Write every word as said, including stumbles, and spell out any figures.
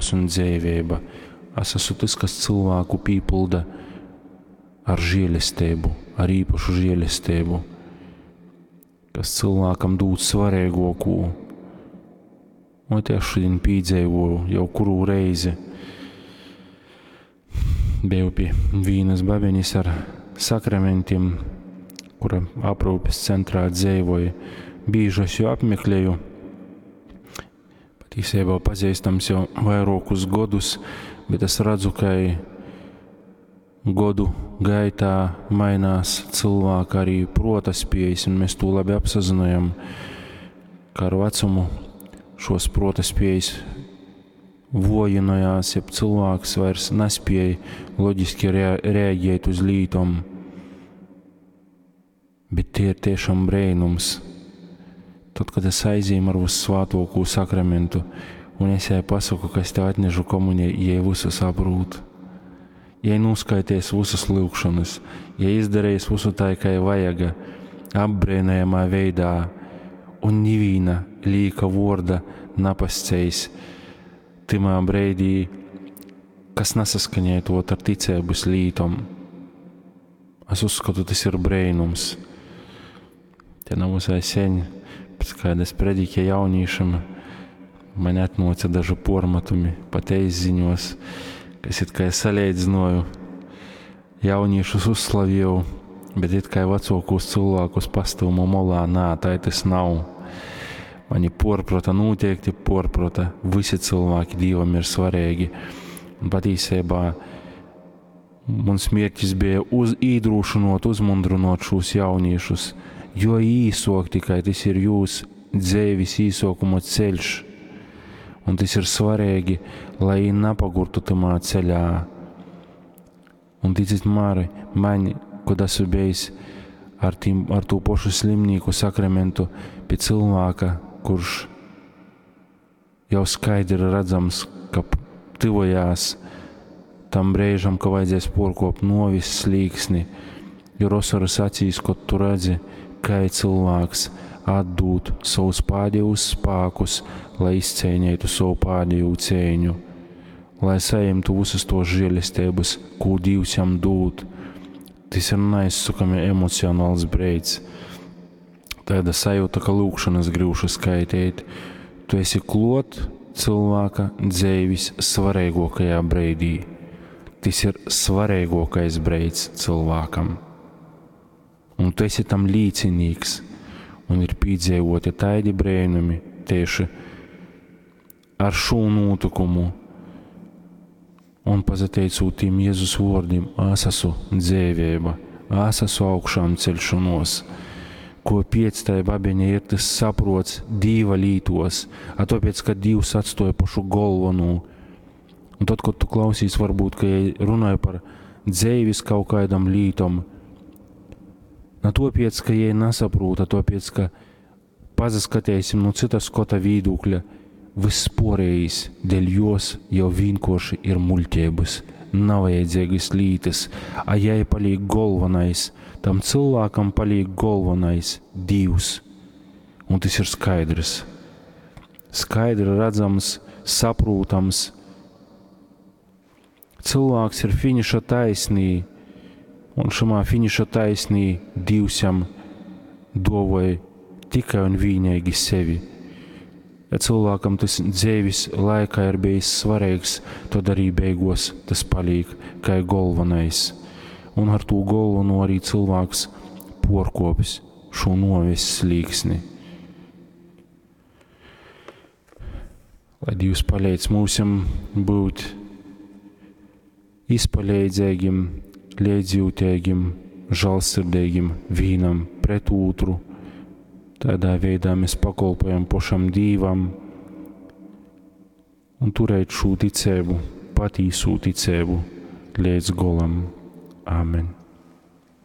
gors un dzeiveiba. Es esmu tys, kas cilvēku pīpilda ar žēlesteibu, ar īpašu žēlesteibu, kas cilvēkam dūd svarīgāko. Un te es šodien pīdzeivoju jau kuru reizi. Biju pie vīnas babeņas ar sakramentiem, kura aprūpes centrā dzīvoja. Bieži es jau apmeklēju. Patiesībā pazīstams jau vairākus gadus, bet es redzu, ka godu gaitā mainās cilvēka arī prota spējas, un mēs to labi apsazinājam, ka ar vecumu šos prota spējas vojinojās, ja cilvēks vairs nespēja loģiski rea reaģēt uz lītom. Bet tie ir tiešām brēnums. Tad, kad es aizīmu ar Vissvātokū sakramentu, un es jai pasaku, ka es tev atnežu komuniju, jai visu saprūt. Jai noskaities visas lūgšanas, jai izdarījis visu tā, kā vajaga, apbrēnējamā veidā, un nivīna līka vorda napascējis timā breidī, kas nesaskaņētot ar ticēbas lītom. Es uzskatu, tas ir brēnums. Te nav visai seņ, pēc kādas prediķa jaunīšam, man atnāca daži pormatumi pat eisziņos, kas it kā salīdzināju, jauniešus uzslavīju, bet it kā vecākos cilvēkus pastūmu molā, nā, tā tas nav. Mani porprata noteikti porprata, visi cilvēki Dievam ir svarīgi. Un patiesībā mans mērķis bija uz, īdrošinot, uzmundrinot šos jauniešus, jo īsok tikai tas ir jūs dzēvis īsokuma ceļš. Un tas ir svarīgi, lai napagurtu tamā ceļā. Un ticiet mari, man, kad esmu bijis ar, tīm, ar to pašu slimnīku sakramentu pie cilvēka, kurš jau skaidri redzams, ka tuvojās tam brīžam, ka vajadzēs porkopt novis slīksni, jo rosaras acīs, kad tu redzi, kā cilvēks atdūt savus pēdējos spēkus, lai izcīnītu savu pēdējo cīņu, lai saņemtu visas tos žēlestības, ko Dievs jam dod. Tas ir neizsakami emocionāls brīdis. Tāda sajūta, ka lūkšanas grūši skaitīt. Tu esi klot cilvēka dzīves svarīgākajā brīdī. Tas ir svarīgākais brīdis cilvēkam. Un tu esi tam līdzinīgs. Un ir piedzīvoti tādi brēnumi tieši ar šo notikumu. Un pazateicot tiem Jēzus vārdiem, es esmu dzīvība, es esmu augšām celšanos. Ko piec tai babeņa ir tas saprots Dīva lītos, a tāpēc, ka Dievs atstoja pašu galveno. Un tad, kad tu klausīs, varbūt, ka ja runāju par dzēvis kaut kādam lītom, na tāpēc, ka jai nesaprūta, tāpēc, ka pazaskatēsim no cita skota vīdūkļa, viss porējis dēļ jos jau vienkārši ir muļķības, nav vajadzīgas lītas, a jai paliek galvenais, tam cilvēkam paliek galvenais Dievs. Un tas ir skaidrs. Skaidri redzams, saprotams. Cilvēks ir finiša taisnī, un šamā finiša taisnī Dievs jam dovoja tikai un vienīgi sevi. Ja cilvēkam tas dzīves laikā ir bijis svarīgs, tad arī beigos tas paliek kā galvenais. Un ar to galveno arī cilvēks porkopis šo noves slīksni. Lai Dievs palīdz mūsim būt izpalīdzīgiem, līdzjūtīgiem, žēlsirdīgiem vienam pret otru. Tādā veidā mēs pakalpojam pašam Dievam un turēt šo ticību, patīso ticību līdz golam. Āmen.